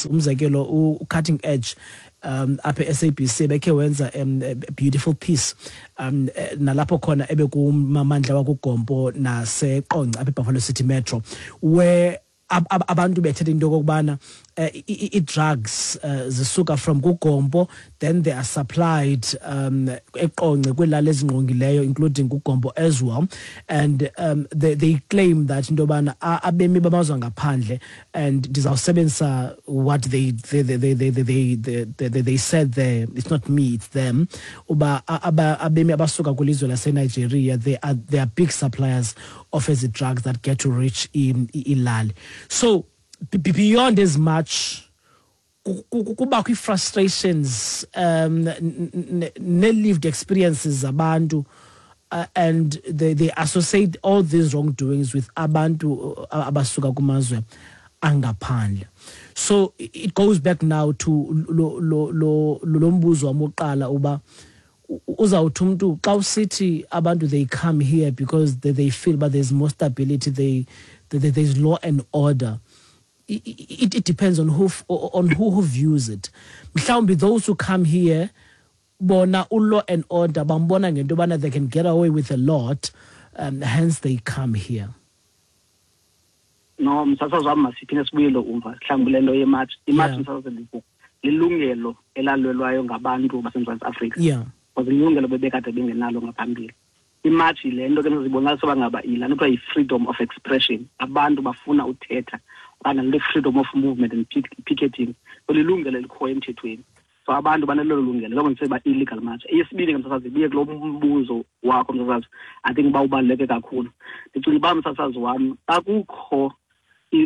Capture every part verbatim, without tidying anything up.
journalists, umzekelo u-Cutting Edge um apha e-S A B C bekhe wenza um, a beautiful piece um eh, nalapho khona ebekumamandla wakuGompo naseQonce apha eBuffalo City Metro, where ab- ab- abantu bethetha into okokubana uh, i-drugs uh, zisuka from kuGompo, then they are supplied um eQonce kwiilali ezingqongileyo, including kuGompo as well. And um, they, they claim that into yobana abemi bamazwe ngaphandle, and ndizawusebenzisa what they they they they they they, they, they, they said there, it's not me, it's them, uba abemi abasuka kwilizwe laseNigeria, they are they are big suppliers of ezi drugs that get to reach ilali. So beyond as much kubakho ii-frustrations um ne-lived experiences zabantu, uh, and they, they associate all these wrongdoings with abantu uh, abasuka kumazwe angaphandle. So it goes back now to lo lo lo lo mbuzo wami wokuqala, uba uzawuthi umuntu xa usithi abantu, they come here because they, they feel but there's more stability, they, they there's law and order. it, it depends on who on who, who views it. Mhlawumbi those who come here bona u-law and order bambona ngento yobana they can get away with a lot, um, hence they come here. No, msasazi wami, masiphinde sibuyele umva mhlawumbi le nto ye-march. I-march, msasazi, lilungelo elalwelwayo ngabantu baseMzantsi Afrika yeah because ilungelo bebekade bengenalo ngaphambili. I-march le nto ke zibonakalisa uba ngaba yilaa nto kuthiwa yi-freedom of expression, abantu bafuna uthetha, okanye le freedom of movement and picketing. So lilungelo elikhoyo emthethweni, so abantu banelo lungelo njengoba ndiseba illegal march. Eyesibini ke, msasazi, ibuye kulo mbuzo wakho, msasazi, I think uba ubaluleke kakhulu. Ndicinga uba, msasazi wam, xa kukho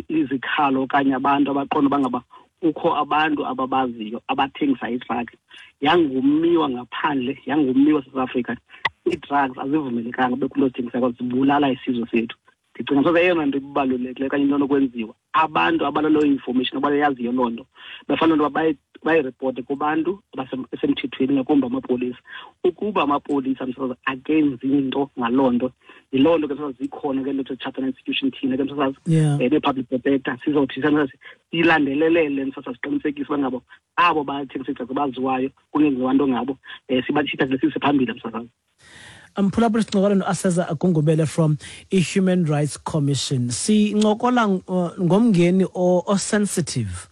izikhalo okanye abantu abaqonda uba ngaba kukho abantu ababaziyo abathengisa i-drug, yangumiwa ngaphandle, yangumiwa South Africa. Ii-drugs azivumelekanga bekho into zithengisayo, zibulala isizwe sethu. Ndicinga soze eyona nto ibalulekileyo okanye into enokwenziwa, abantu abanaloo information, abayaziyo loo nto, bafanele into yoba bayiripote kubantu abasemthethweni, ngakumbi amapolisa. Ukuba amapolisa, msasazi, akenzi nto ngaloo nto, yiloo nto ke, msasazi, zikhona ke nto chapter institution. Thina ke, msasazi, yeah. um nee-public protector, sizothi, msasazi, siyilandelelele, msasazi, siqinisekise uba ngabo abo bathengisa ii-drugs baziwayo kungenziwa nto ngabo, um sibatshitha sise phambili, msasazi. Mphulaphuli, sincokola no-Aseza Gungubele from i-Human Rights Commission. Sincokola uh, ngomngeni o-sensitive,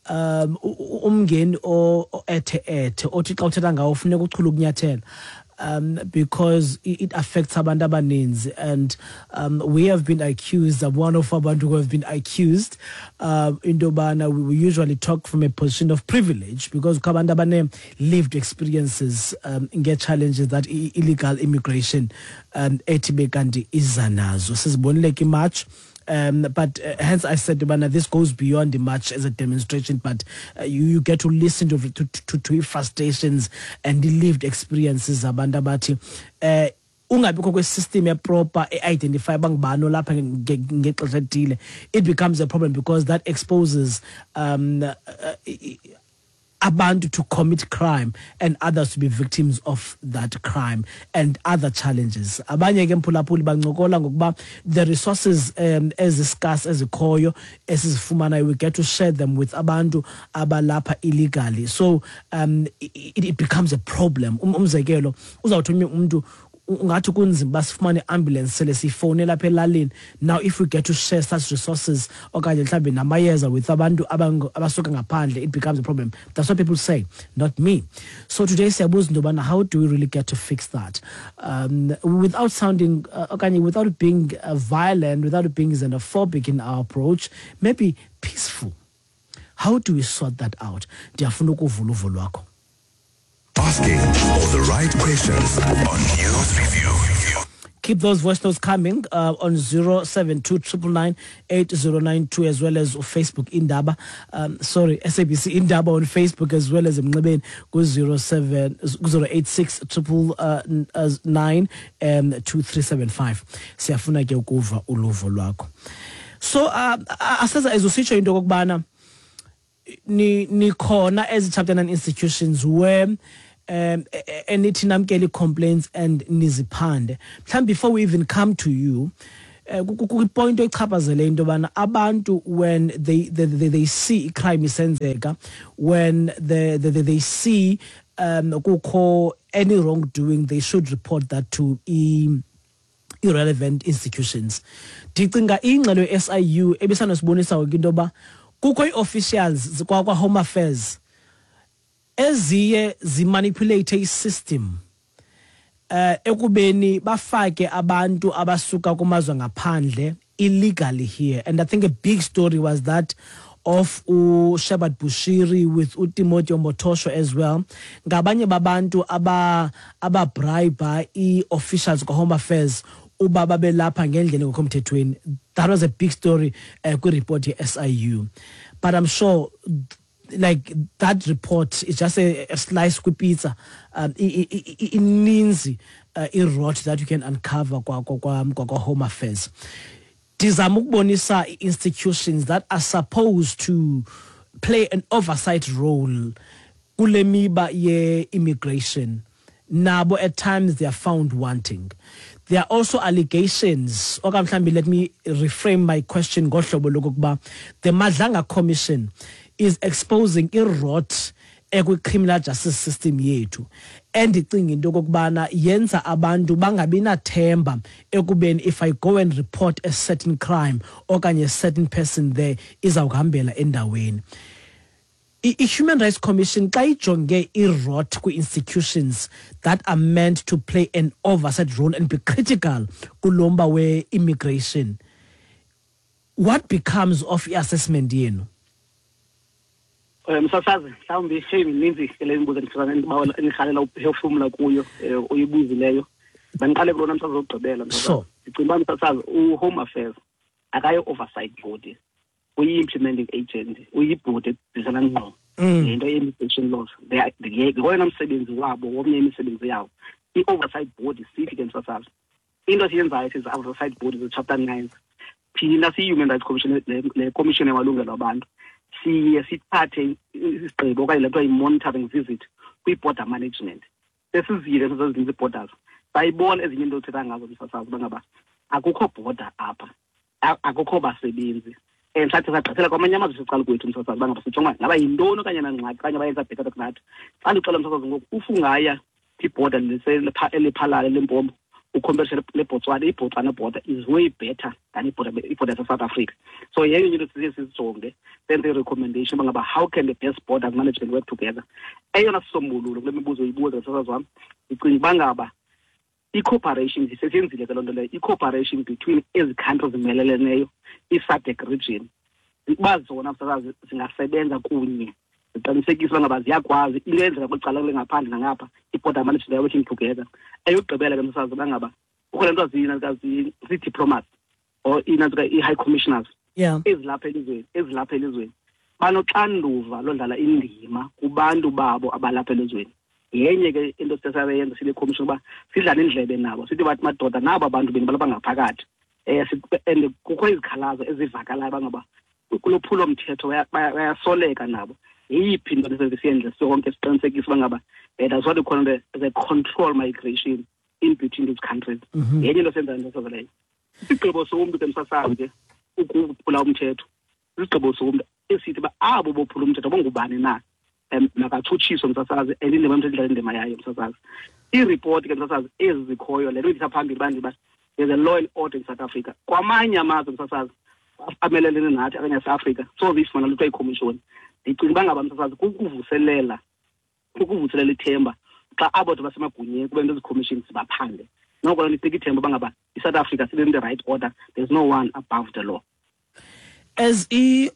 um umngeni o-ethe ethe, othi xa uthetha ngawo funeka uchule ukunyathela, um, because it, it affects abantu abaninzi. And um, we have been accused, I'm one of abantu who have been accused um, into yobana we, we usually talk from a position of privilege because kukho abantu abane-lived experiences um, ngee-challenges that illegal immigration um, ethi bekanti iza nazo. Sizibonile ke i-march, Um, but uh, hence I said, bana, this goes beyond the march as a demonstration, but uh, you, you get to listen to, to, to, to frustrations and the lived experiences abantu abathi uh, ungabikho kwe-system e-proper e-identify bangubani olapha ngexesha elithile, it becomes a problem because that exposes um, uh, abantu to commit crime and others to be victims of that crime and other challenges. Abanye ke, mphulaphuli, bancokola ngokuba the resources um ezi-scarce ezikhoyo esizifumanayo, we get to share them with abantu abalapha illegally, so um it, it becomes a problem. um, umzekelo uzawuthi omnye umntu, ungathi kunzima uba sifumane i-ambulance sele siyifowunela apha elalini. Now if we get to share such resources okanye mhlawumbi namayeza with abantu abasuka ngaphandle, it becomes a problem. That's what people say, not me. So today siyabuza into yobana how do we really get to fix that um, without sounding uh, okanye without being uh, violent, without being xenophobic in our approach, maybe peaceful? How do we sort that out? Ndiyafuna ukuvula uvo lwakho. Asking all the right questions on News Review. Keep those voice notes coming uh, on zero seven two nine nine nine eight zero nine two, as well as Facebook Indaba. Um, sorry, S A B C Indaba on Facebook, as well as emnxebeni ku zero seven zero eight six nine nine nine um two three seven five. Siyafuna ke ukuva uluvo lwakho. So uh, Aseza, ezusitsho into okubana ni nikhona as chapter nine institutions where um enithi namkele complaints and niziphande. Mhlawumbi before we even come to you, Eh, kwipoint oyichaphazele into yobana abantu when they, they, they, they see icrime isenzeka, when they, they, they see um kukho any wrongdoing, they should report that to i-relevant institutions. Ndicinga ingxelo ye-S I U ebisanosibonisa into yoba kukho ii-officials kwa-Home Affairs eziye zimanipulate i-system eh ekubeni bafake abantu abasuka kumazwe ngaphandle illegally here. And I think a big story was that of uShepherd Bushiri with uTimothy Omotosho as well. Ngabanye babantu aba ababribe i-officials kwa-Home Affairs uba babelapha ngendlela engekho mthethweni. That was a big story uh, kwi-report ye-S I U. But I'm sure like that report is just a, a slice kwi-pizza. Um, ininzi uh, i-rot that you can uncover kwa, kwa, kwa, kwa Home Affairs. Ndizama ukubonisa institutions that are supposed to play an oversight role kule miba ye-immigration. Nabo at times they are found wanting. There are also allegations. Okanye mhlambi let me reframe my question ngohlobo lokokuba the Madlanga Commission is exposing i-rot ekwi-criminal justice system yethu. Endicinga into okokubana yenza abantu bangabi nathemba ekubeni if I go and report a certain crime okanye a certain person there izawukuhambela endaweni. I-Human Rights Commission xa ijonge i-rot kwi-institutions that are meant to play an oversight role and be critical kulomba we-immigration, what becomes of i-assessment yenu? Msasazi, mhlawumbi hey mininzi ke le mibuzo endirhalela uphefumla kuyo oyibuzileyo. Bandiqale kulona msasazi wokugqibela. Sure. Ndicinga uba msasazi uHome Affairs akayo oversight body, uyi-implementing agent, uyibhodi edizana ngqo ngento ye-immigration laws. Ngoyena msebenzi wabo, womnye imisebenzi yawo. I-oversight body sithi ke msasazi, into esiyenzayo sizi-oversight body ze-chapter nine. Thina siyi-Human Rights Commission, le commission yamalungelo abantu, siye sithathe isigqibo okanye le nto yi-monitoring visit kwi-border management. Sesizile ezinye ii-borders, sayibona ezinye into othetha ngazo msasazi uba ngaba akukho border apha, akukho basebenzi. And sathi sagqithela kwamanye amazwe sicala kwethu msasazi uba ngaba sijonga ngaba yintoni okanye nangxaki okanye bayenza bhetele kunathi. Xa ndixela msasazi ngoku, ufungaya kwibhoda eliphalala leMpompo ucompare leBotswana, iBotswana border is way better than ibhoda ibhoda yaseSouth Africa. So yenye into siye sizijonge, senze i-recommendation uba ngaba how can the best borders management work together. Eyona sisombululo kule mibuzo uyibuza msasazi wam, ndicinga uba ngaba i-cooperation, sesiyenzile ke loo nto leyo, i-cooperation between ezi countries zimeleleneyo, i-SADC region, uba zona msasazi zingasebenza kunye, ziqinisekise uba ngaba ziyakwazi into eyenzeka kwicala kule ngaphandle nangapha, i-border management they are working together. Eyokugqibela ke msasazi uba ngaba kukho le nto zii-diplomats or ii-high commissioners ezilapha elizweni, ezilapha elizweni banoxanduva lodlala indima kubantu babo abalapha elizweni. Yenye ke into esisayenza sile commission uba sidlale indlebe nabo, sithi bathi madoda nabo abantu beni balapha ngaphakathi. Eh and kukho izikhalazo ezivakalayo bangaba kulophulo mthetho bayasoleka nabo. Yeyiphi into esiyenze sonke siqinisekise uba ngaba that's what we call the, the control migration in between these countries. Yenye into senza into leyo. Isigqibo somntu ke msasazi ke ukuphula umthetho, isigqibo somntu esithi ba abo bophula umthetho bongubani na, um makatshutshiswe msasazi, and indima yomthetho idlala indima yayo msasazi. Iiripoti ke msasazi ezi zikhoyo, le nto ithetha phambili uba ndiba there's a law and order in South Africa. Kwamanye amazwe msasazi amelelene nathi okanye aseAfrika soze ifumana lutho ikhomishoni. Ndicinga uba ngaba msasazi kukuvuselela kukuvuselela ithemba xa abo bantu basemagunyeni kube nto ezi-commissions zibaphande. Noko loo nto inika ithemba uba ngaba iSouth Africa still in the right order, there's no one above the law. As e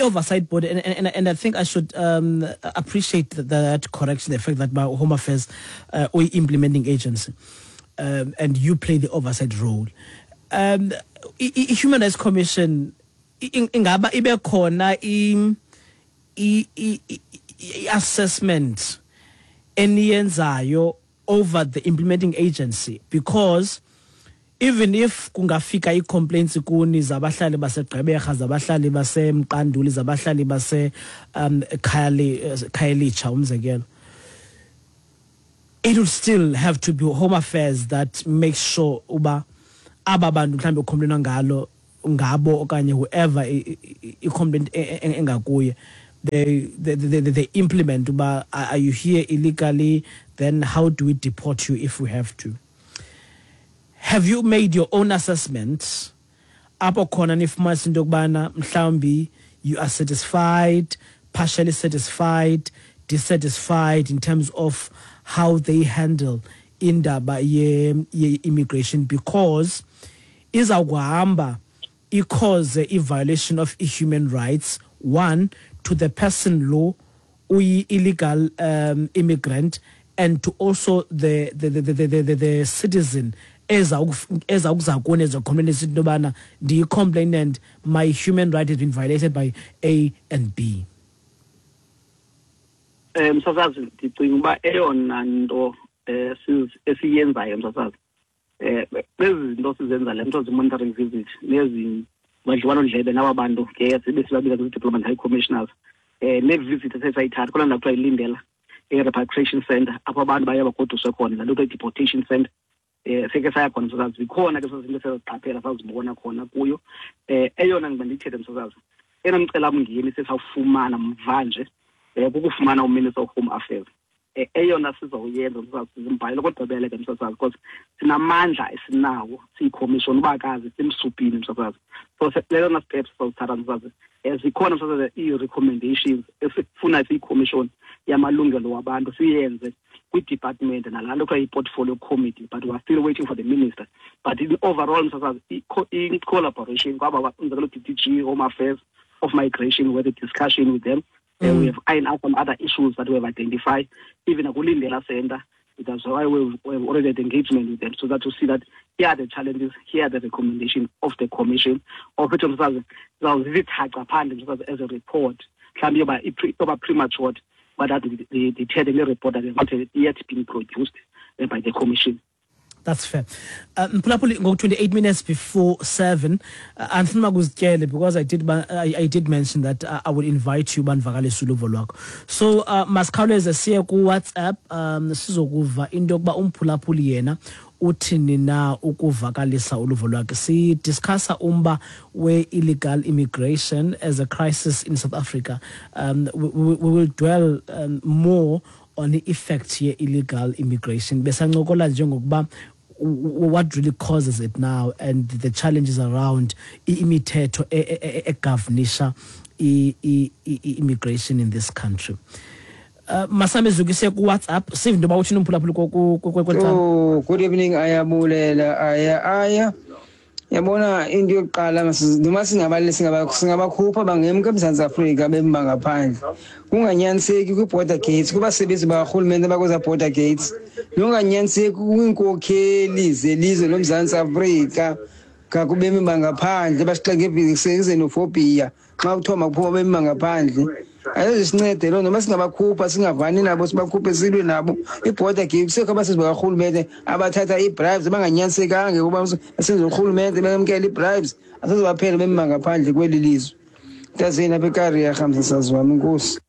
oversight board, and, and, and I think I should um, appreciate that, that correction, the fact that my Home Affairs uh, or implementing agency, um, and you play the oversight role. Um, i-Human Rights Commission ingaba ibe khona i-assessment eniyenzayo over the implementing agency, because even if kungafika i-complaints kuni zabahlali baseGqeberha, zabahlali baseMqanduli, zabahlali base um Khayelitsha umzekelo, it will still have to be Home Affairs that makes sure uba aba bantu mhlambe ucomplaina ngalo ngabo okanye whoever i-complaint engakuye, they they they, they implement uba are you here illegally, then how do we deport you if we have to. Have you made your own assessments apho khona nifumanisa into yokubana mhlawumbi you are satisfied, partially satisfied, dissatisfied in terms of how they handle indaba ye-immigration, because izawukuhamba i-cause i-violation of human rights, one, to the person lo uyi-illegal um, immigrant, and to also the the the the, the, the, the citizen eza kuni ezocomplain into yobana ndiyi-complainant, my human right has been violated by A and B. Um msasazi, ndicinga uba eyona nto esiyenzayo msasazi, um ezi zinto sizenza le nto zi-monitoring visit nezi badliwanondlebe naba bantu ke sibe sibabiza zii-diplomat high commissioners, um ne-visit esesayithatha kulaa ndawo kuthiwa iLindela, i-repatriation center apho abantu baye bagoduswe khona, laa nto kuthiwa i-deportation center. Um seke saya khona msasazi, zikhona ke zinto esiziqaphela sazibona khona kuyo. Um eyona ngiba ndiyithethe msasazi, eyona mcelamngeni sesawufumana mvanje um kukufumana uMinister of Home Affairs. Eyona sizawuyenza msasazi, sizimbhalele kodwa ke msasazi, because sinamandla esinawo siyikhomishoni ubakazi simsupini msasazi. So lelona step sizawuthatha msasazi, zikhona msasazi ii-recommendations esifuna siyikhomishoni yamalungelo wabantu siyenze kwi-department nalaa nto kuthiwa yi-portfolio committee, but we are still waiting for the minister. But in overall msasazi, in collaboration kwaba umzekelo D T G, Home Affairs, of Migration, we had a discussion with them. Mm. Uh, we have ironed out some other issues that we have identified, even at Lindela Center. That's why we've, we've already had engagement with them, so that to see that here are the challenges, here are the recommendations of the commission, of which as a report, premature, but that the, the, the report that has not yet been produced by the commission. That's fair. Mphulaphuli, uh, twenty-eight minutes before seven, andifuna kuzityele because I did I, I did mention that uh, I would invite you banvakalise uluvo lwakho. So uh, masikhawuleze siye ku WhatsApp, um sizokuva into yokuba umphulaphuli yena uthini na ukuvakalisa uluvo lwakhe. Si discussa umba we-illegal immigration as a crisis in South Africa. Um, we, we, we will dwell um, more on the effect here illegal immigration. Besancokola njengokuba what really causes it now and the challenges around imithetho egovernisha immigration in this country. Uh, Masame zukise ku WhatsApp sive ndoba uthini umphulaphuli. Oh, good evening ayabulela aya aya Yabona into yokuqala noma singabali singabakhupha bangemka eMzantsi Afrika bemba ngaphandle. Kunganyaniseki kwi-border gates kubasebenzi bakarhulumente abakweza border gates. Lunganyaniseki kwiinkokheli zelizwe loMzantsi Afrika kakubemi bangaphandle basixeke xenophobia xa kuthiwa makuphuma bemi bangaphandle. Ayizisincede loo noma singabakhupha singavani nabo sibakhuphe silwe nabo. I-border gates kusekho abasebenzi bakarhulumente abathatha ii-bribes abanganyanisekanga ukuba basenze urhulumente bemkela ii-bribes asezobaphela bemi bangaphandle kweli lizwe. Ntazini apha eKariya msasazi wam, inkosi.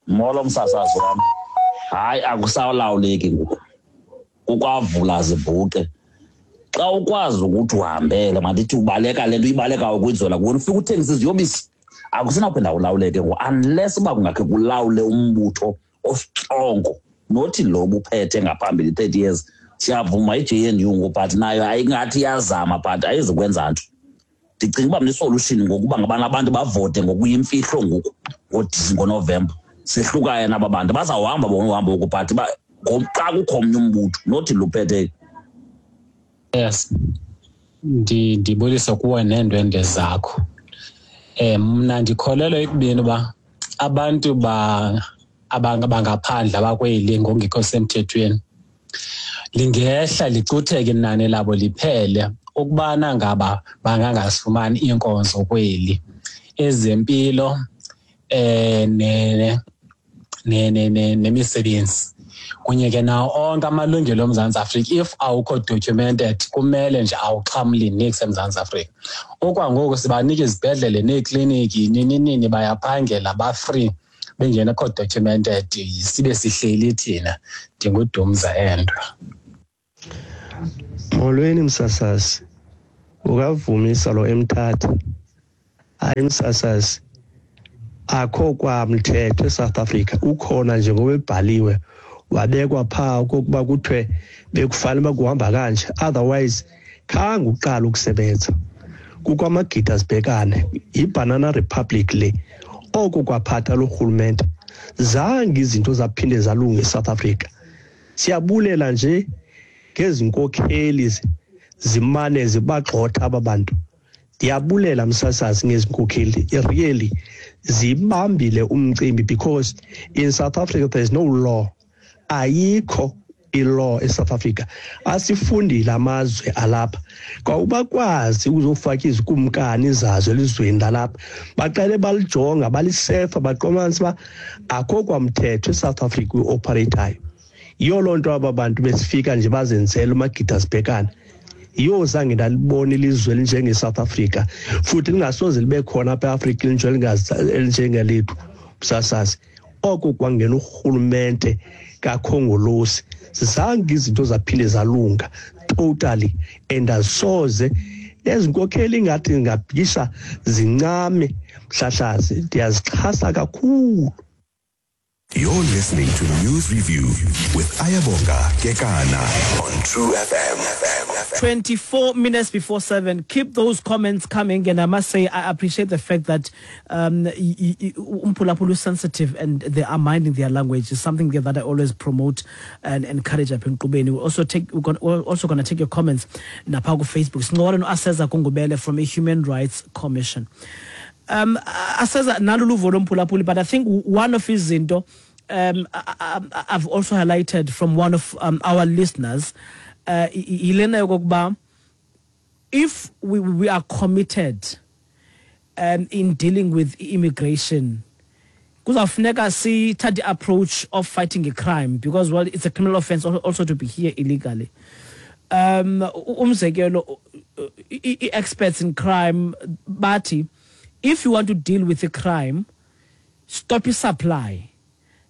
Molo msasazi wam. Hayi, akusalawuleki ngoku, kukwavula zibhuqe. Xa ukwazi ukuthi uhambele mandithi ubaleka le nto uyibalekayo kwinzola kuwena ufike uthengise iziyobisi, akusenawuphinda ulawuleke ngoku unless uba kungakhe kulawule umbutho ostrongo, nothi lo buphethe ngaphambili thirty years. Siyavuma i-J N U ngoku but nayo ayingathi iyazama but ayizukwenza nto. Ndicinga uba mna isolution ngokuba ngabana abantu bavote ngokuyimfihlo ngoku ngoNovemba. Sehlukane naba bantu bazawuhamba bona uhambo ngoku but xa kukho omnye umbutho nothi luphethe. Yes, ndibulisa kuwe neendwendwe zakho. Eh mna ndikholelwa ekubeni uba abantu ba abangaphandle abakweli ngongekho semthethweni lingehla licutheke inani labo liphele ukubana ngaba bangangasifumani iinkonzo kweli ezempilo eh ne ne ne nemisebenzi kunye ke nawo onke amalungelo oMzantsi Afrika. If awukho documented kumele nje awuxhamli niks eMzantsi Afrika. Okwangoku sibanika izibhedlele neekliniki nini nini bayaphangela ba-free bengenakho documented sibe sihleli thina. NdinguDumza Endwa. Molweni msasazi, ukavumisa lo eMthatha. Hayi msasazi, akho kwamthetho eSouth Africa, ukhona nje ngoba ebhaliwe wabekwa phaa okokuba kuthiwe bekufanele uba kuhamba kanje, otherwise khange uqala ukusebenza. Kukho amagida zibhekane, yiBanana Republic le. Oko kwaphatha lo rhulumente, zange izinto zaphinde zalunga eSouth Africa. Siyabulela nje ngezi nkokheli zimane zibagxotha aba bantu. Ndiyabulela msasazi ngezi nkokheli, really zibambile umcimbi, because in South Africa there is no law. Ayikho i-law eSouth Africa. Asifundile amazwe alapha kwawubakwazi ukuzofaka izikumkani zazo elizweni lalapha, baqale balijonga balisefa baqomanisa uba akho kwamthetho eSouth Africa uoperatayo. Yiyo loo nto aba bantu besifika nje bazenzela umagida zibhekane. Yiyo zange ndalibona ilizwe elinjengeSouth Africa, futhi lingasoze libe khona apha eAfrika elinjengelethu msasazi. Oko kwangena urhulumente kaKhongolosi, zange izinto zaphinde zalunga totally, and asoze ezi nkokheli ingathi ngabhikisha zincame mhlahlazi. Ndiyazixhasa kakhulu. You're listening to News Review with Ayabonga Kekana on True F M. twenty-four minutes before seven. Keep those comments coming, and I must say I appreciate the fact that um, Umpulapulu is sensitive and they are minding their language. It's something that I always promote and encourage up in Kubeni. We're also take we're, gonna, we're also going to take your comments napha ku Facebook. Sincokola no-Aseza Gungubele from a Human Rights Commission. Um, Aseza naluluvo lomphulaphuli, but I think one of izinto um, I, I, I've also highlighted from one of um, our listeners, uh, yokokuba if we, we are committed um, in dealing with immigration, kuzawufuneka sithathe the approach of fighting a crime, because well, it's a criminal offense also to be here illegally. Um, umzekelo, experts in crime bathi, if you want to deal with a crime, stop your supply.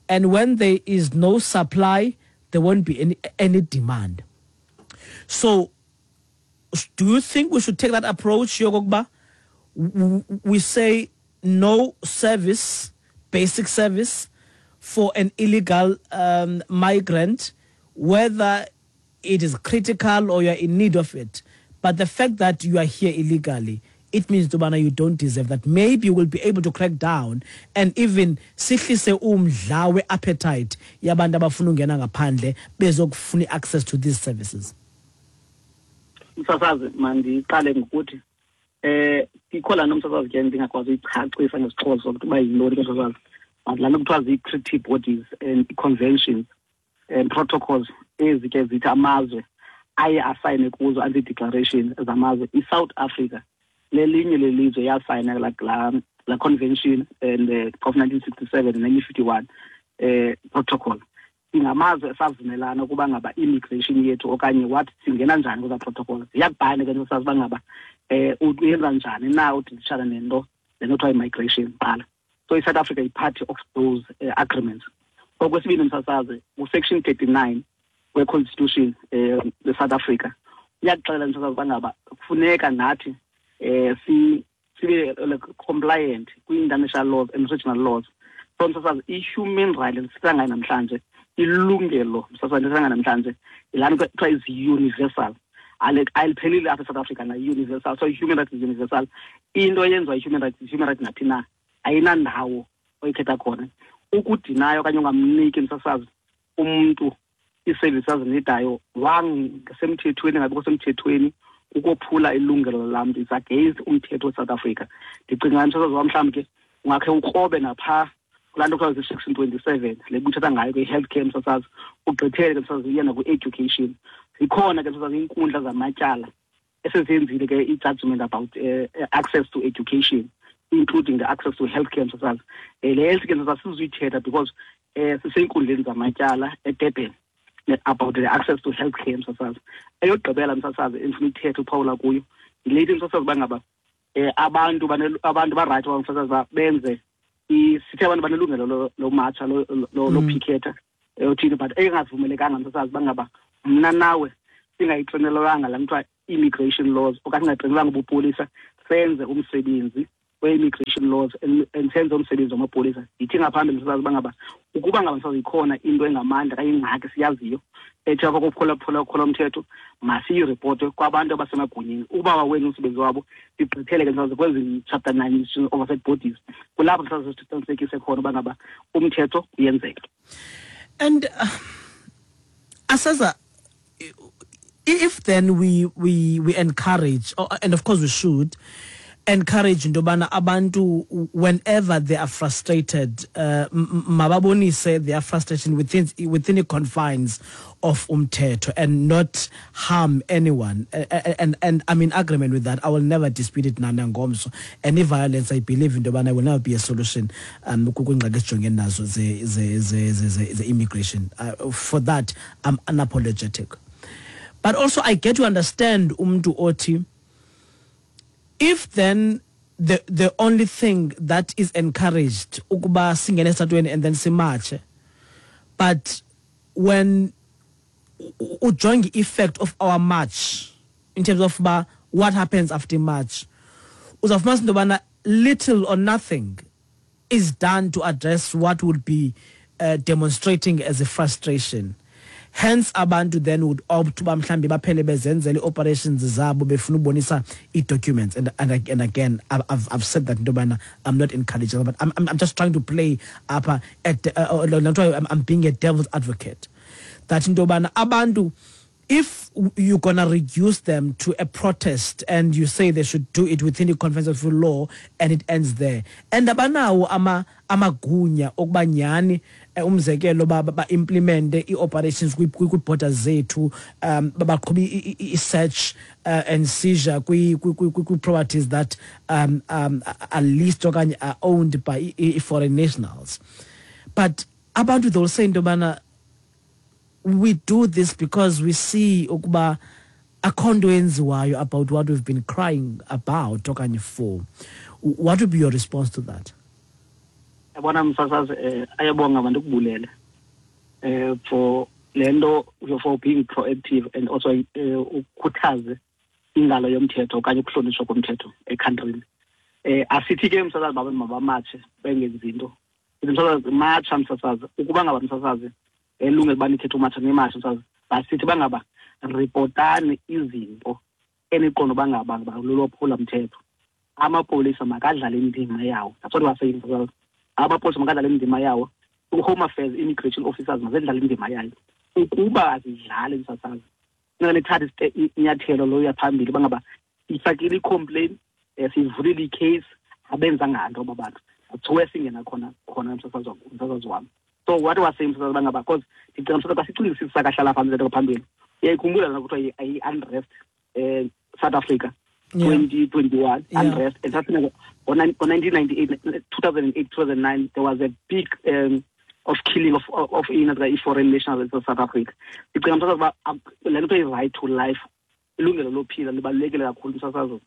And when there is no supply, there won't be any, any demand. So, do you think we should take that approach, Yogogba? We say no service, basic service, for an illegal um, migrant, whether it is critical or you're in need of it. But the fact that you are here illegally, it means, Tubana, you don't deserve that. Maybe you will be able to crack down and even sihlise umdla we-appetite yabantu abafuna ungena ngaphandle bezokufuna access to these services. Msasazi, mandiqale ngokuthi eh ikho laa nto msasazi ke ndingakwazi uyichacisa ngesiXhosa ukuthi uba yintoni ke msasazi. Laa nto kuthiwa zii-treaty bodies and conventions and protocols ezi ke zithi amazwe aye asayine kuzo anti-declaration zamazwe. I-South Africa lelinye lelizwe yasayina la la, la convention and uh, of nineteen sixty-seven and nineteen fifty-one eh protocol. Ingamazwe esavumelana ukuba ngaba immigration yethu okanye what singena njani kuza protocol. Ziyakubhana ke sazi uba ngaba eh uyenza njani na udilishana nento lento kuthiwa i-migration qala. So i-South Africa is part of those uh, agreements. Okwesibini msasazi, u-section thirty-nine we-constitution eh the South Africa iyakuxelela msasazi uba ngaba kufuneka nathi eh si sibe like compliant kwi-international laws and regional laws. So msasazi, i-human rights sithetha ngayo namhlanje, ilungelo msasazi sithetha ngayo namhlanje ilana kuthiwa is universal. Ayiphelile apha eSouth Africa na universal. So i-human rights is universal. Into eyenziwa i-human rights is human rights naphi na, ayinandawo oyikhetha khona. Ukudinayo okanye ungamniki msasazi umntu ii-services azinidayo wangasemthethweni ngabikho semthethweni ukophula ilungelo lamntu, it's against umthetho weSouth Africa. Ndicinga msasazi wam mhlawumbi ke ungakhe ukrobe napha kulaa nto kuthiwa zi-section twenty-seven le kuthetha ngayo kwi-healthcare msasazi, ugqithele ke msasazi uye nakwi-education. Zikhona ke msasazi iinkundla zamatyala esezenzile ke i-judgment about uh, access to education, including the access to healthcare msasazi. Le health ke msasazi sizuyithetha because um sisey'nkundleni zamatyala eDurban about the access to healthcare msasazi. Eyokugqibela msasazi endifuna ithethe uphawula kuyo yile ithi msasazi uba ngaba um abantu abantu barayithi uba msasazi uba benze sithe abantu banelungelo lomatsha lophikhetha othini, but engavumelekanga msasazi uba ngaba mna nawe Singayitrenelwanga laa kuthiwa immigration laws okanye singatrelwanga ubupolisa senze umsebenzi we-immigration laws and senze umsebenzi wamapolisa. Yithi ngaphambili msasazi uba ngaba ukuba ngaba msasazi ikhona into engamandla okanye ingxaki siyaziyo ethi apha kokuphula umthetho, masiyiripote kwabantu abasemagunyeni. Uba bawenza umsebenzi wabo, sigqithele ke msasazi kwezi chapter nine oversight bodies, kulapho msasazi siqinisekise khona uba ngaba umthetho uyenzeka. And uh, Asaza, if then we we we encourage, and of course we should encourage into yobana abantu whenever they are frustrated, uh, mababonise their frustration within within the confines of umthetho and not harm anyone. And, and, and I'm in agreement with that. I will never dispute it nangomso. Any violence, I believe into yobana will never be a solution. Um, the immigration. Uh, for that, I'm unapologetic. But also, I get to understand umntu othi, if then the the only thing that is encouraged ukuba singene esitratweni and then simatshe, but when ujonge effect of our march in terms of ba what happens after march, uzawufumanisa into yobana little or nothing is done to address what would be uh, demonstrating as a frustration. Hence, abantu then would opt uba mhlambi baphele bezenzela ii-operations zabo befuna ubonisa ii-documents. And, and, and again, I've, I've said that into yobana I'm not encouraging, but I'm, I'm, I'm just trying to play up at, uh, I'm, I'm being a devil's advocate. That into yobana abantu, if you're gonna reduce them to a protest and you say they should do it within the confines of the law and it ends there. And abanawo ama amagunya okuba nyani umzekelo ba ba implement i-operations kwi-borders zethu, um baqhuba i-search uh, and seizure kwi-properties that um, um, are leased okanye are owned by foreign nationals. But abantu they will say into yobana we do this because we see ukuba akho nto yenziwayo about what we've been crying about okanye for. What would be your response to that? Yabona msasazi, eh, ayabonga abantu ukubulele eh for le nto, for being proactive and also eh, ukhuthaze ingalo yomthetho okanye ukuhlonitshwa komthetho ekhantrini. Eh asithi ke msasazi babe mabamatshe bengenzi into. Msasazi matsha msasazi ukuba ngaba msasazi elungelo uba nithethe umatsha nemasha msasazi, basithi bangaba reportani izinto eniqonda uba ngaba lulwaphula mthetho. Amapolisa makadlale indima yawo. That's what we are saying msasazi. Amapolisa makadlale indima yawo. Home Affairs immigration officers mazidlale indima yayo. Ukuba azidlali msasazi, funeka nithathe inyathelo loya phambili bangaba ifakile i-complaint, sivulile i-case, abenzanga nto aba bantu. That's where singena khona khona msasazi msasazi wam. So what was saying msasazi bangaba, because ndicinga msasazi xa sicingisisa sakahlala phambili lento phambili. Uyayikhumbula lana kuthiwa i-unrest eh South Africa twenty twenty-one unrest, and that's on nineteen ninety-eight, two thousand eight, two thousand nine, there was a big um, of killing of of, of in foreign nationals in South Africa. Ndicinga msasazi uba le nto i-right to life, ilungelo lophila libalulekile kakhulu msasazi.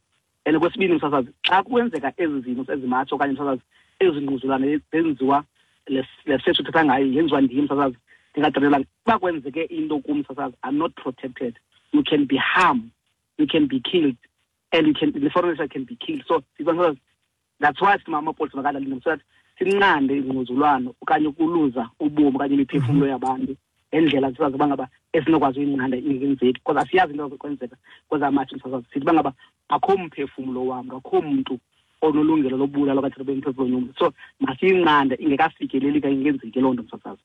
And kwesibini msasazi, xa kwenzeka ezi zinto ezimatsho okanye msasazi ezingquzulane zenziwa le search uthetha ngayo yenziwa ndim msasazi, ndingadelela uba kwenzeke into kum msasazi, I'm not protected. You can be harmed, you can be killed, and you can, the foreigner can be killed. So that's why amapolisa makadlale so that sinqande ingquzulwano okanye ukuluza ubomi okanye imiphefumlo yabantu endlela sisazi uba ngaba esinokwazi uyinqanda ingenzeki, because asiyazi into ezokwenzeka kwezamatshe msasazi. Sithi uba ngaba akho mphefumlo wam, akho mntu onolungelo lobulala okanye lobemphefumlo yomntu. So masiyinqande ingekafikeleli ka ingenzeki loo nto msasazi.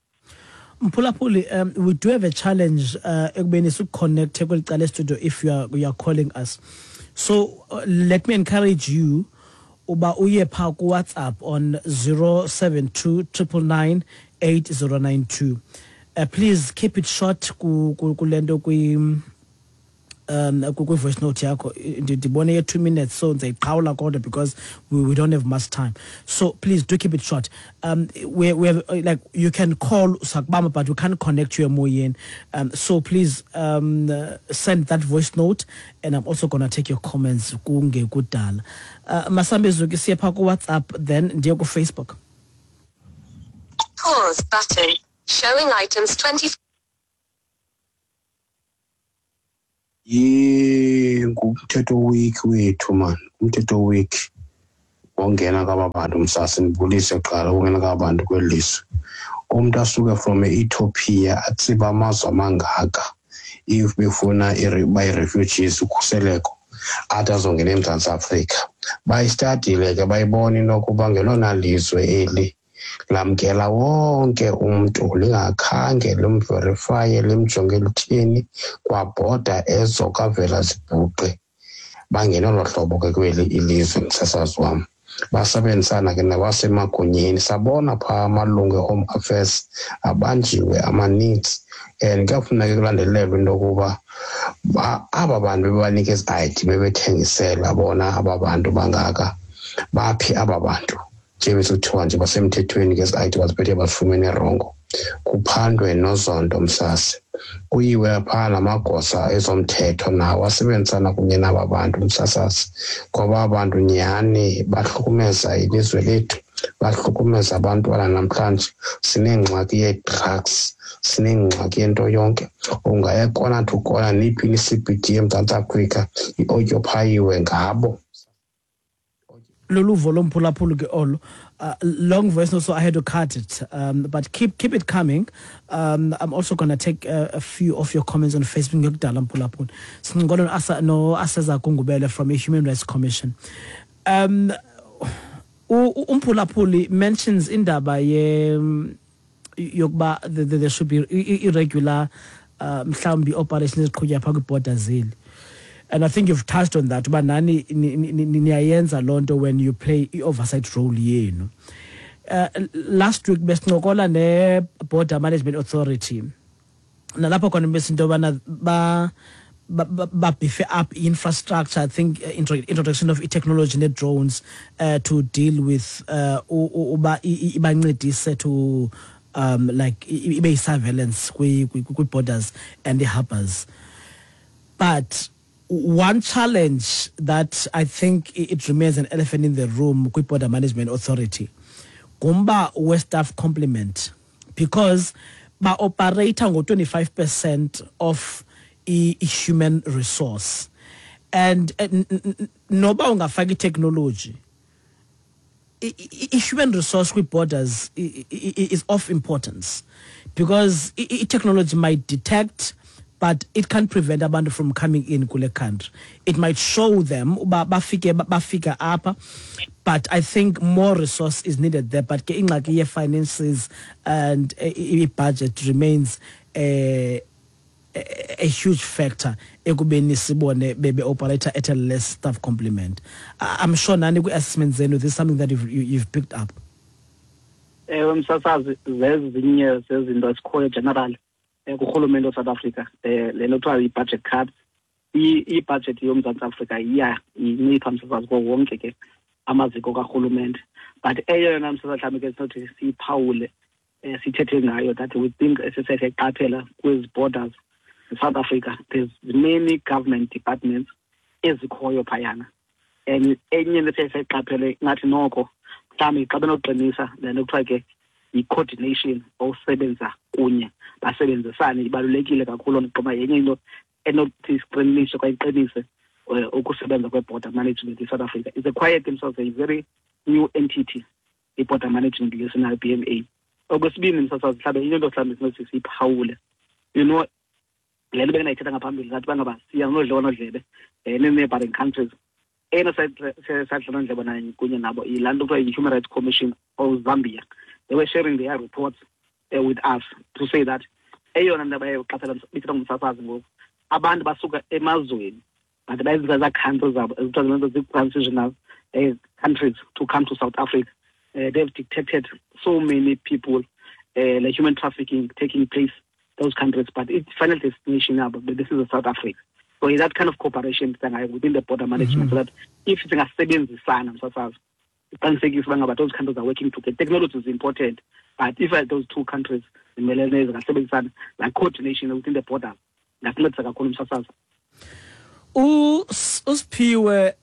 Mphulaphuli, um, we do have a challenge uh, ekubeni sikuconnecte kweli cala studio if you are, you are calling us. So uh, let me encourage you uba uye pha ku WhatsApp on zero seven two triple nine eight zero nine two. Uh, please keep it short ku kulento kwi um kwi voice note yakho. Ndibone ye two minutes, so ndizayiqhawula kodwa because we, we don't have much time. So please do keep it short. Um we we have, like you can call sakubamba but we can't connect you emoyeni. Um so please um uh, send that voice note, and I'm also going to take your comments kungekudala. Uh Masambezuki siye pha ku WhatsApp then ndiye ku Facebook. Pause button showing items twenty. Ye ngumthetho week wethu man, umthetho week wongena kwaba bantu msasi ndibulise kuqala ungena kwaba bantu kweli lizwe. Umntu asuke from e-Ethiopia atsiba amazwe amangaka if befuna bayi-refugees ukhuseleko athi azongena eMzantsi Afrika. Bayistadile ke bayibona into yokuba ngelona lizwe eli lamkela wonke umntu lingakhange limverifaye limjonge lithini kwabhoda ezo kavela zibhuqe. Bangena olo hlobo ke kweli ilizwe msasazi wam. Basebenzisana ke nabasemagunyeni, sabona phaa amalungu e-Home Affairs abanjiwe amaninzi. And kuyafuneka kulandelelwe into yokuba aba bantu bebanika ezi I D bebethengisela bona aba bantu bangaka, baphi aba bantu nje besithiwa nje basemthethweni ke ezi I D baziphethe bazifumene rongo. Kuphandwe noZondo msasi, kuyiwe phaa namagosa ezomthetho nawo asebenzisana kunye naba bantu msasasi, ngoba abantu nyhani bahlukumeza ilizwe lethu, bahlukumeza abantwana. Namhlanje sinengxaki yee-drugs, sinengxaki yento yonke. Ungaya kona to kona niphi i-C B D eMzantsi Afrika iotyophayiwe ngabo. Loluvo lomphulaphuli ke olo. Uh, long voice note, so I had to cut it. Um, but keep keep it coming. Um, I'm also going to take uh, a few of your comments on Facebook. Ngiyakudala mphulaphuli. Sincokola no no Aseza Gungubele from a Human Rights Commission. Um, umphulaphuli mentions indaba ye yokuba there should be irregular mhlawumbi operations eziqhutywa phaa kwi-border zeli. And I think you've touched on that. But nani niyayenza loo nto when you play i-oversight role yenu. Uh, last week besincokola ne-Border Management Authority. Nalapho khona besinto yobana ba ba beef up infrastructure, I think uh, introduction of technology and drones uh, to deal with uh, uba ibancedise to um, like ibe surveillance kwi borders and the harbors. But one challenge that I think it remains an elephant in the room kwi Border Management Authority ngumba we-staff complement, because ba operator ngo twenty-five percent of i-human resource, and noba ungafaki technology, i-human resource kwi borders is of importance, because i-technology might detect, but it can't prevent abantu from coming in kule country. It might show them uba bafike bafika apha, but I think more resource is needed there. But ke ingxaki ye-finances and i-budget remains a, a, a huge factor ekubeni sibone bebe operator at a less staff complement. I'm sure nani kwi-assessment zenu this is something that you've, you've picked up. Ewe msasazi, zezinye zezinto esikhoyo general kurhulumente weSouth Africa, le nto kuthiwa yi-budget cuts. I-budget yoMzantsi Afrika iya incipha msasazi kuwo wonke ke amaziko karhulumente. But eyona msasazi mhlawumbi ke sinothi siyiphawule, sithethe ngayo, that we think esisesiqaphela kwezi borders South Africa, there's many government departments ezikhoyo phayana. And enye into esiyayiqaphele ngathi noko mhlawumbi xa benoqinisa le nto kuthiwa ke yi-coordination, osebenza kunye basebenzisane, ibalulekile kakhulu. Ndiqonda yenye into enothi siqinise kwaye iqinise ukusebenza kwe-border management in South Africa. It's a quiet themselves, a very new entity, i-border management lesinayo B M A. Okwesibini msasazi, mhlawumbi into mhlawumbi sinothi siyiphawule, you know, le nto bendayithetha ngaphambili ngathi bangaba siya nodliwanodlebe nee-neighboring countries. Eyona sadliwanodlebe nayo kunye nabo yilaa nto kuthiwa yi-Human Rights Commission of Zambia. They were sharing their reports uh, with us to say that eyona nto abayeqaphela bithetha ngumsasazi ngoku, abantu basuka emazweni but bayenzisa ezaa countries zabo ezithiwa zento zii-transitional uh, countries to come to South Africa. Uh, they've detected so many people, uh, like human trafficking taking place those countries, but its final destination now, but this is South Africa. So that kind of cooperation within the border management, mm-hmm. so that if singasebenzisana msasazi, iqinisekise uba those countries are working together. Technology is important, but if those two countries zingasebenzisana, like coordination within the borders, ingasincedisa kakhulu msasazi. Usiphiwe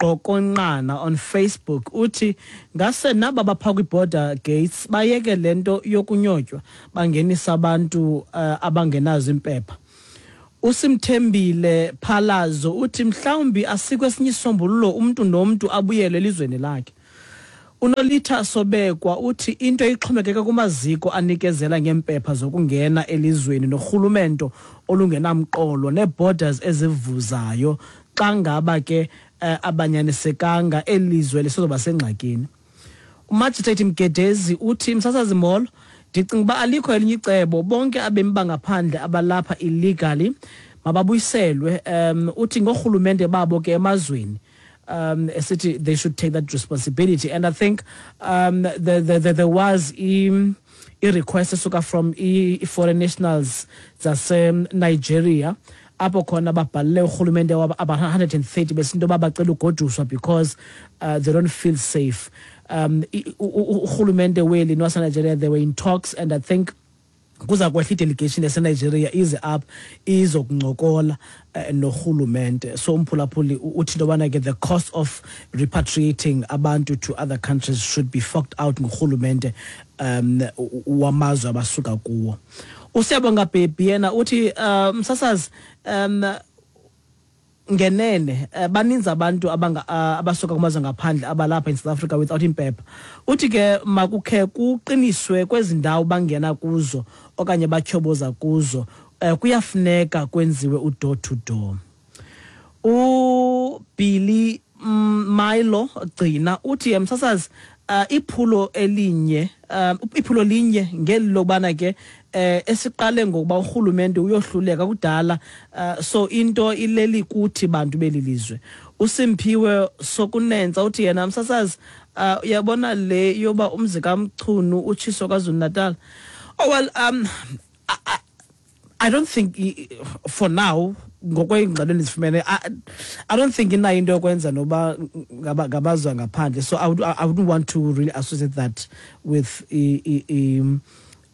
Qokonqana on Facebook uthi ngase naba bapha kwi-border gates bayeke lento yokunyotywa bangenisa abantu uh, abangenazo impepha. Usimthembile Phalazo uthi mhlawumbi asikho esinye isombululo, umntu nomntu abuyele elizweni lakhe. Unolitha Sobekwa uthi into ixhomekeka kumaziko anikezela ngempepha zokungena elizweni norhulumento olungenamqolo nee-borders ezivuzayo, xa ngaba ke eh, abanyanisekanga elizwe lisozoba sengxakini. Umagistrate Mgedezi uthi, msasazi molo, ndicinga uba alikho elinye icebo, bonke abemi bangaphandle abalapha illegally mababuyiselwe. um uthi ngorhulumente babo ke emazweni, um esithi they should take that responsibility. And I think um the, the, the, there was i, i-request esuka from i-foreign nationals zase-Nigeria, apho khona babhalele urhulumente wabo aba-one hundred and thirty besinto yoba bacela ugoduswa because uh, they don't feel safe. um urhulumente weli nowaseNigeria, they were in talks, and I think kuza kwehla i-delegation yaseNigeria ize apha izokuncokola uh, norhulumente. So umphulaphuli uthi into yobana ke the cost of repatriating abantu to other countries should be forked out ngurhulumente um wamazwe abasuka kuwo. Usiyabonga Bhebhi yena uthi, uh, msasazi, um ngenene uh, baninzi abantu abanga uh, abasuka kumazwe ngaphandle abalapha in South Africa without impepha. Uthi ke makukhe kuqiniswe kwezi ndawo bangena kuzo okanye batyhoboza kuzo, uh, kuyafuneka kwenziwe u-door to door. uBilly Milo Gcina uthi, msasazi, uh, iphulo elinye um iphulo linye ngeli lokubana ke eh esiqale ngokuba urhulumente uyohluleka kudala, uh, so into ileli kuthi bantu beli lizwe. Usimphiwe Sokunenza uthi yena, msasazi, uh, uyabona le yoba umzi kaMchunu utshiso KwaZulu Natal. Oh well, um I, I, I don't think, for now, ngokweengxelo endizifumene, I, I don't think inayo into yokwenza noba ngabazwa ngaphandle. So I, would, I wouldn't want to really associate that with i, i, i,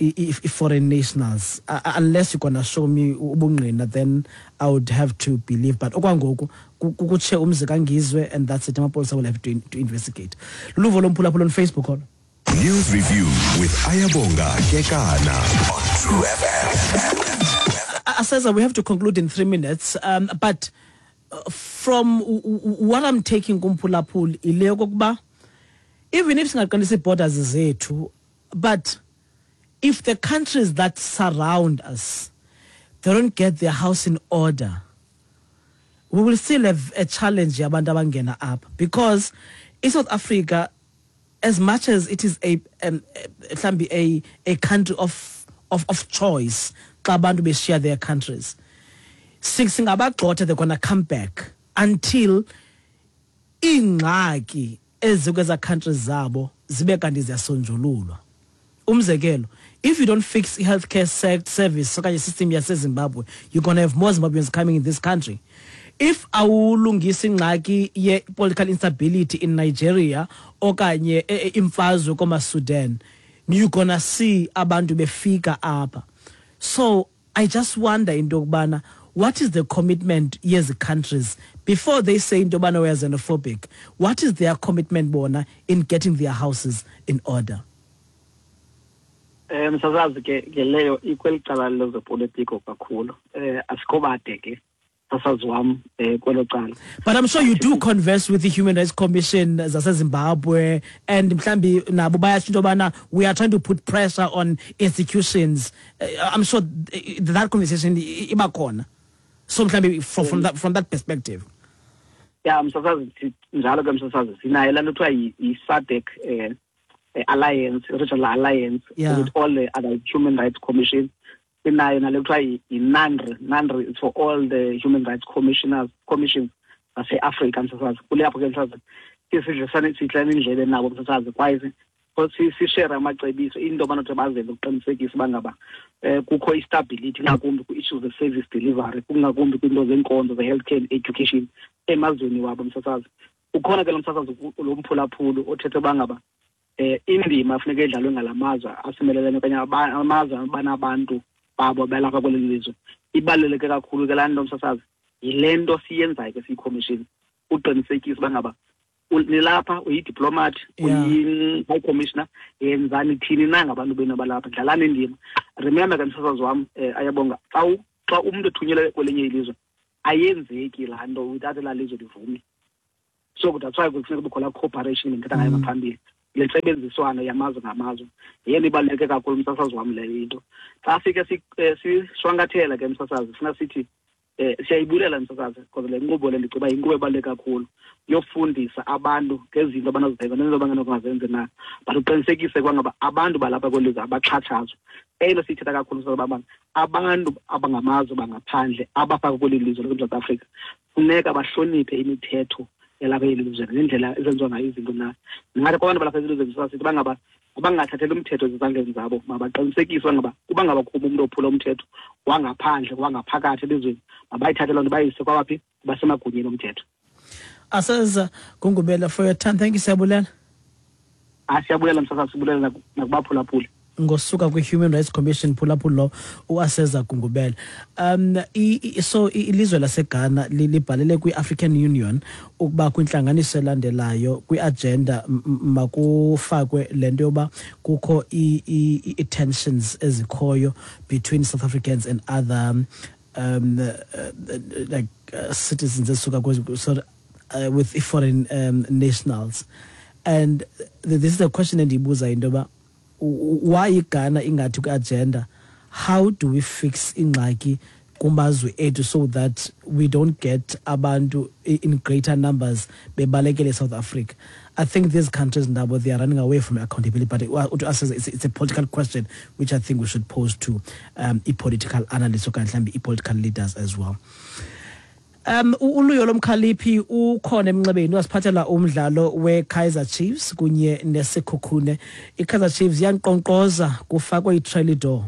i, foreign nationals, uh, unless you're gonna show me ubungqina, then I would have to believe. But okwangoku kutshe umzi kaNgizwe and that's it. Amapolisa will have to, to investigate. Luvo lomphulaphula on Facebook olo. News Review with Ayabonga Kekana on True F M. Aseza, we have to conclude in three minutes, um, but from what I'm taking kumphulaphuli ile yokokuba even if singaqinisa ii-borders zethu, but if the countries that surround us, they don't get their house in order, we will still have a challenge yabantu abangena apha, because in South Africa, as much as it is a um, mhlambi a a country of of of choice xa abantu beshiya their countries, singabagxotha, they're gonna come back until iingxaki ezikweza countries zabo zibe kanti ziyasonjululwa. Umzekelo, if you don't fix i-healthcare service okanye system yaseZimbabwe, you're gonna have more Zimbabweans coming in this country. If awulungisa ingxaki ye-political instability in Nigeria okanye imfazwe koma-Sudan, you're gonna see abantu befika apha. So I just wonder into yokubana what is the commitment yezi countries before they say into yobana we are xenophobic? What is their commitment bona in getting their houses in order? um msasazi, ke ke leyo ikweli cala lezopolitiko kakhulu. eh asikho bade ke, msasazi wam, eh kwelo cala. But I'm sure you do converse with the Human Rights Commission zaseZimbabwe, and mhlambi nabo bayatsho into yobana we are trying to put pressure on institutions. uh, I'm sure that conversation iba khona, so mhlambi from, from that from that perspective. Ya, msasazi, njalo ke, msasazi, sinayo laa nto kuthiwa yi-SADC eh alliance, regional alliance, yeah. with all the other human rights commissions. Sinayo nale kuthiwa yi-NANHRI. NANHRI is for all the human rights commissioners, commissions zase-Afrika, msasazi. Kulapho ke, msasazi, sidlisane sidlana indlebe nabo, msasazi, kwaye sishere amacebiso into abanothi bazenze ukuqinisekisa uba ngaba um kukho i-stability, ngakumbi kwi-issues ze-service delivery, kungakumbi kwiinto zenkonzo ze-healthcare and education emazweni wabo, msasazi. Ukhona ke lo msasazi, lo mphulaphuli othethe uba ngaba eh indima funeka idlalwe ngalamazwe asimelelene okanye amazwe abanabantu babo belapha kweli lizwe ibaluleke kakhulu ke laa nto, msasazi. Yile nto siyenzayo ke siyi-commission, uqinisekisa uba ngaba nilapha, uyi-diplomat, uyi-high commissioner, yenzani thini na ngabantu benu abalapha, dlalani indima. Remember ke, msasazi wam, um Ayabonga, xa Xa umntu ethunyelwe kwelinye ilizwe ayenzeki laa nto without elaa lizwe livume. So that's why kufuneka kubekho laa cooperation bendithetha ngayo ngaphambili, le ntsebenziswano yamazwe ngamazwe yeyona ibaluleke kakhulu, msasazi wam, leyo into. Xa sike sishwankathela ke, msasazi, funa sithi um siyayibulela, msasazi, because le nkqubo le ndicinga uba yinkqubo ebaluleke kakhulu yofundisa abantu ngezinto abanozenza nezinto abangenokungazenzi na, but uqinisekise kwangaba abantu balapha kweli lizwe abaxhatshazwa. Eyona siyithetha kakhulu, msasazi, uba abantu abangamazwe bangaphandle abafaka kweli lizwe laseMzantsi Afrika funeka bahloniphe imithetho yalapha eli lizwe nendlela ezenziwa ngayo izinto na. Ndingathi kwabantu balapha elizweni sithi bangaba bangathatheli umthetho ezizandleni zabo, mabaqinisekise bangaba uba ngaba kukho umntu ophula umthetho wangaphandle wangaphakathi elizweni, mabayithathe loo nto bayise kwabaphi basemagunyeni omthetho. Aseza Gungubela, for your time, thank you, siyabulela. Ah, siyabulela, msasazi, sibulela nakubaphulaphuli. Ngosuka kwi-Human Rights Commission phulaphula uAseza Gungubela. Um i, i, so ilizwe laseGhana libhalele kwi-African Union ukuba kwintlanganiso elandelayo kwi-agenda makufakwe le nto yoba kukho i-tensions ezikhoyo between South Africans and other um, uh, like uh, citizens esuka so, uh, with foreign um, nationals. And this is the question endiyibuza, into yoba why iGhana ingathi kwi-agenda, how do we fix ingxaki kumazwe ethu so that we don't get abantu in greater numbers bebalekele South Africa? I think these countries now, they are running away from accountability, but it, to us it's, it's a political question which I think we should pose to um, i-political analysts okanye mhlawumbi i-political leaders as well. Um uLuyo lomkhaliphi ukhona emnxebeni, wasiphathela umdlalo weKaizer Chiefs kunye neSekhukhune. IKaizer Chiefs iyankqonkqoza, kufakwe itrelidor.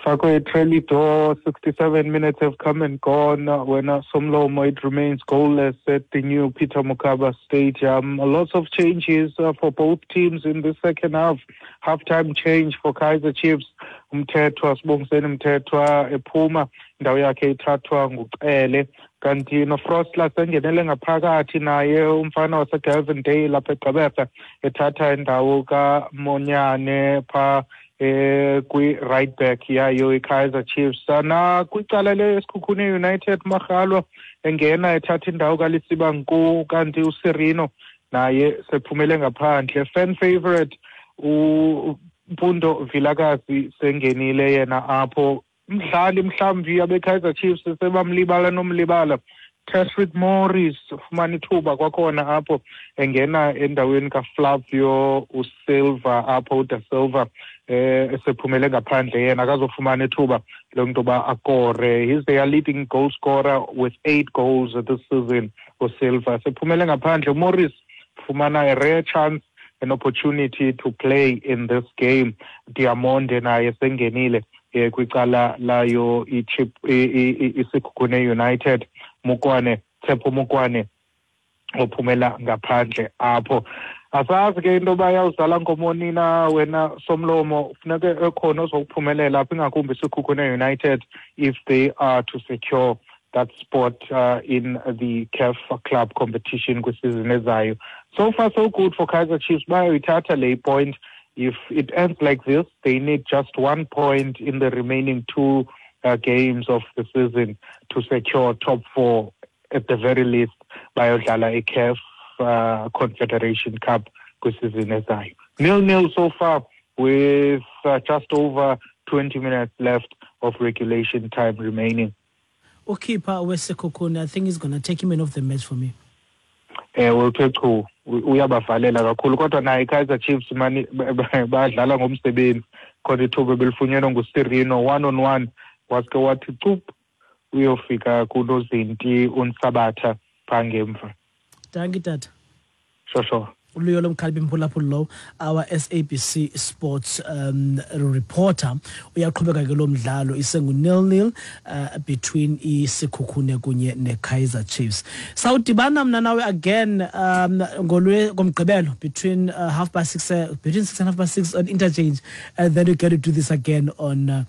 Fakwe itrelidor, sixty-seven minutes have come and gone. When Somlomo, it remains goalless at the new Peter Mokaba Stadium. Lots of changes for both teams in the second half. Halftime change for Kaizer Chiefs. Mthethwa, Sibongiseni Mthethwa ephuma, indawo yakhe ithathwa nguCele, kanti noFrostler sengenele ngaphakathi naye umfana waseGelvindale lapha eGqeberha ethatha indawo kaMonyane pha eh kwi-right back yayo iKaizer Chiefs. Na kwicala leSekhukhune United, Makgalwa engena ethatha indawo kaLisiba Nku, kanti uSirino naye sephumele ngaphandle. Fan favorite uMpundo Vilakazi sengenile yena apho. Mdlali mhlawumbi abeKaizer Chiefs sebamlibala nomlibala, Tashreeq Morris ufumana ithuba kwakhona apho engena endaweni kaFlavio uSilva apho, uDa Silva eh esephumele ngaphandle yena akazofumana ithuba lokuba ba akore. He's their leading goal scorer with eight goals this season, uSilva sephumele ngaphandle. Morris fumana a rare chance, an opportunity to play in this game. Diamonde naye sengenile kwicala layo iSekhukhune United. Mukwane, Tshepo Mukwane ophumela ngaphandle apho. Asazi ke into yoba yawuzala nkomoni na wena Somlomo, funeke ekhona ozokuphumelela apha, ingakumbi iSekhukhune United if they are to secure that spot uh, in the C A F club competition kwisizini ezayo. So far so good for Kaizer Chiefs, bayoyithatha le point. If it ends like this, they need just one point in the remaining two uh, games of the season to secure top four at the very least. Bayodlala i-C A F uh, Confederation Cup kwisizini ezayo. Nil-nil so far with uh, just over twenty minutes left of regulation time remaining. Ukeeper weSekhukhune, I think he's going to take him in off the match for me. Eh uthe chu uyabavalela kakhulu, kodwa naye iKaizer Chiefs mani badlala ngomsebenzi khona ithuba belifunyenwe nguSirino one on one, waske wathi cup uyofika kunozinti uNsabatha phangemva. Dankie tata. Sure sure. Uluyo lomkhalibi mphulaphula lo, our S A B C Sports um, reporter, uyaqhubeka ke lo mdlalo isengu nil nil uh, between iSekhukhune kunye neKaizer Chiefs. Sawudibana mna nawe again um ngolwe ngomgqibelo between uh, half past six uh, between six and half past six on interchange, and then we get to do this again on uh,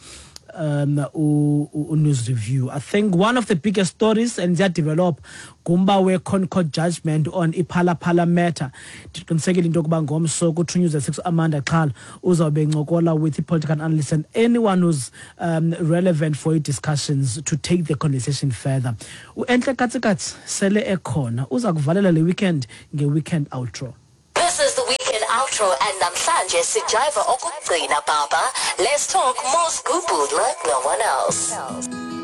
um u-news review. I think one of the biggest stories and ziyadevelop ngumba we-ConCourt judgment on iPhala Phala matter. Ndiqinisekile into yokuba ngomso ku-True News at six Amanda Xhala uzawube encokola with i-political analyst and anyone who's um, relevant for i-discussions to take the conversation further. U-Entle Katsikatsi sele ekhona, uza kuvalela le weekend nge-weekend outro. This is the weekend outro and namhlanje sijiva okugcina, baba. Let's talk more scoop like no one else.